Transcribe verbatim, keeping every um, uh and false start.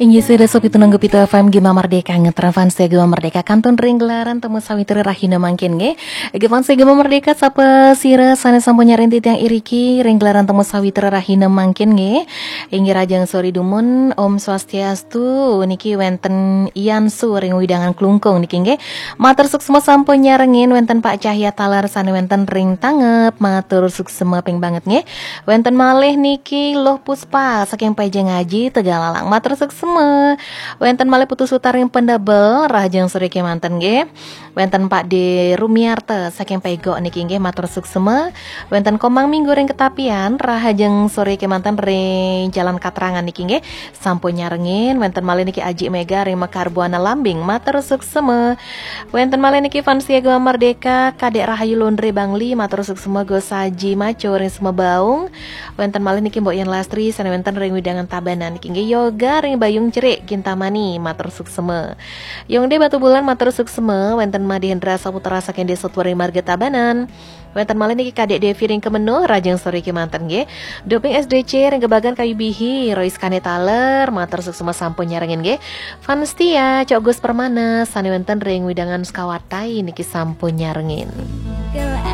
Inggih sira sopi tunanggu pitu F M Gema Merdeka, ngetren fans Gema Merdeka kantun ring gelaran temu sawitra rahina mangkin nggih. Nggih fans Gema Merdeka, sapa sira sane sampun nyarengin titiang iriki ring gelaran temu sawitra rahina mangkin nggih. Inggih rahajeng sore dumun, Om Swastiastu, niki wenten Ian Su ring wewidangan Klungkung niki nggih. Matur suksma sampun nyarengin, wenten Pak Cahya Talar sane wenten ring Tangep, matur suksma ping banget nggih. Wenten malih niki Luh Puspa saking Pejeng Aji Tegalalang, matur suksma. Wenten malih Putu Sutar ring Pendebel, rahajeng sore kemanten nggih. Wenten Pak De Rumiarta saking Pegok niki nggih, matur suksma. Wenten Komang Minggu ring Ketapian, rahajeng sore kemanten ring Jalan Katrangan niki nggih, sampun nyarengin. Wenten malih niki Aji Mega ring Mekar Buana Lambing, matur suksma. Wenten malih niki fans Gema Merdeka, Kadek Rahayu Londre Bangli, matur suksma. Gus Aji Maco ring Semebaung. Wenten malih niki Mbok Yan Lastri sane wenten ring wewidangan Tabanan niki nggih. Yoga ring Bayung Cerik Kintamani, matur suksma. Yongde Batubulan, matur suksma. Wenten Made Hendra Saputra saking Desa Tuwering Marga Tabanan. Wenten malih niki Kadek Devi ring Kemenuh, rahajeng sore kemanten nggih. Doping S D C ring Gebagan Kayu Bihi, Rois Kane Taler, matur suksma sampun nyarengin nggih. Fans setia Cok Gus Permana sane wenten ring wewidangan Sukawati niki sampun nyarengin.